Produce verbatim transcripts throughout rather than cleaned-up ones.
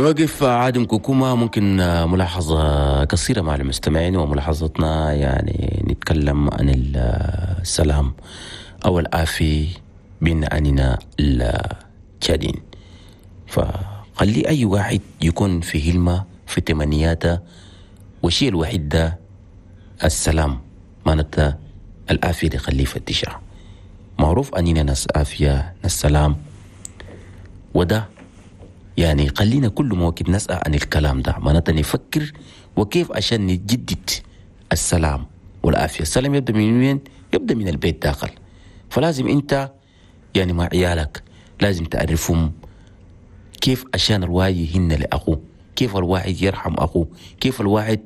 نوقف عادم كوكوما. ممكن ملاحظة قصيرة مع المستمعين، وملاحظتنا يعني نتكلم عن السلام أو العافية بين أننا التشادين. فخلي أي واحد يكون في هلمة في تمنياته، والشيء الوحيد ده السلام، معناتها العافية دي خليه يفتشها. معروف أننا ناس عافية، ناس سلام، وده يعني خلينا كل ما وقت نسأل عن الكلام ده، معناتها نفكر وكيف عشان نجدد السلام والعافية. السلام يبدأ من وين؟ يبدأ من البيت داخل. فلازم أنت يعني مع عيالك لازم تعرفهم كيف عشان الواحد يهن لأخوه، كيف الواحد يرحم أخوه، كيف الواحد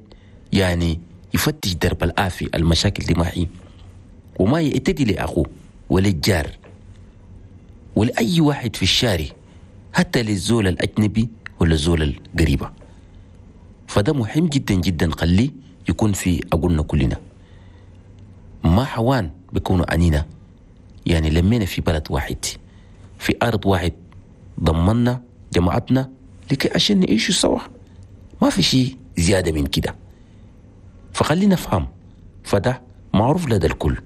يعني يفتش درب العافية، المشاكل دي معي، وما يعتدي لأخوه وللجار ولأي واحد في الشارع، حتى للزول الأجنبي ولا الزول القريبة. فده مهم جدا جدا، خليه يكون في عقولنا كلنا. ما حوان بيكونوا أنينا يعني لمينا في بلد واحد، في أرض واحد، ضمنا جماعتنا لكي عشان نعيشوا سوا، ما في شيء زيادة من كده. فخلينا نفهم، فده معروف لدى الكل.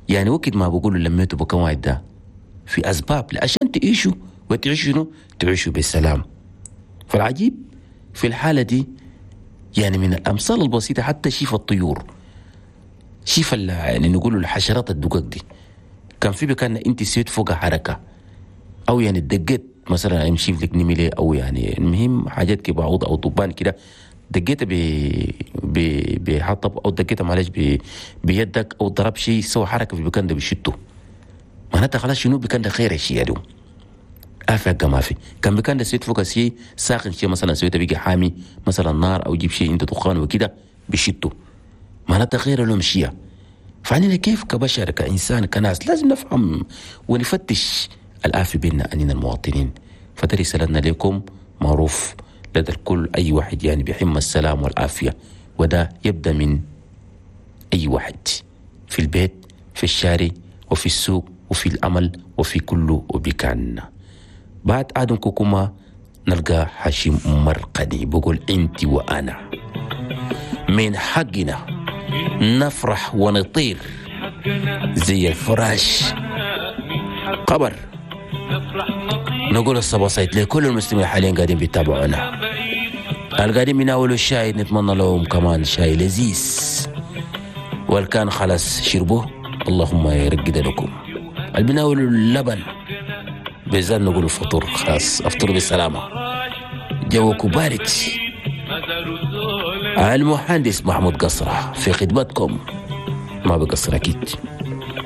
يعني وقت ما بقولوا لميتوا بكم واحد ده في أسباب عشان تعيشوا، وتعيشوا شنو؟ تعيشوا بالسلام. فالعجيب في الحالة دي يعني من الأمثال البسيطة، حتى شيف الطيور، شيف يعني نقولوا الحشرات الدقق دي، كان في بكان انت سويت فوق حركة أو يعني دقيت مثلا يمشي لك نملة أو يعني المهم حاجات كده بعوض أو طبان كده، دقيتها ب ب بحطب أو دقيتها معلش ب بيدك أو ضرب شيء سوى حركة في المكان ده بشته، معناتها خلاص شنو بكان ده خير الشيء اليوم افق ما في. كان بكان ده سويت فوق شيء ساخن، شيء مثلا سويته بيجي حامي مثلا نار او جيب شيء انت دخان وكده بشته، معناتها خير لهم شيء. فعنينا كيف كبشر كإنسان كناس لازم نفهم ونفتش الآفة بيننا أننا المواطنين. فده رسالتنا لكم، معروف لدى الكل، أي واحد يعني بيحم السلام والعافية، وده يبدأ من أي واحد في البيت، في الشارع، وفي السوق، وفي العمل، وفي كل بكان. بعد آدم كوكوما نلقى هاشم مرقدي بقول أنت وأنا من حقنا نفرح ونطير زي الفراش قبر. نقول الصباح سيد لكل المسلمين حاليا قاعدين بيتابعونا، القاعدين بيناولوا الشاي نتمنى لهم كمان شاي لذيذ، والكان خلاص شربوه اللهم يرقد لكم. اللي بيناولوا اللبن بالذات نقول الفطور خلاص افطروا بالسلامة، جوكم بارد. المهندس محمود قصرة في خدمتكم، ما بقصر أكيد.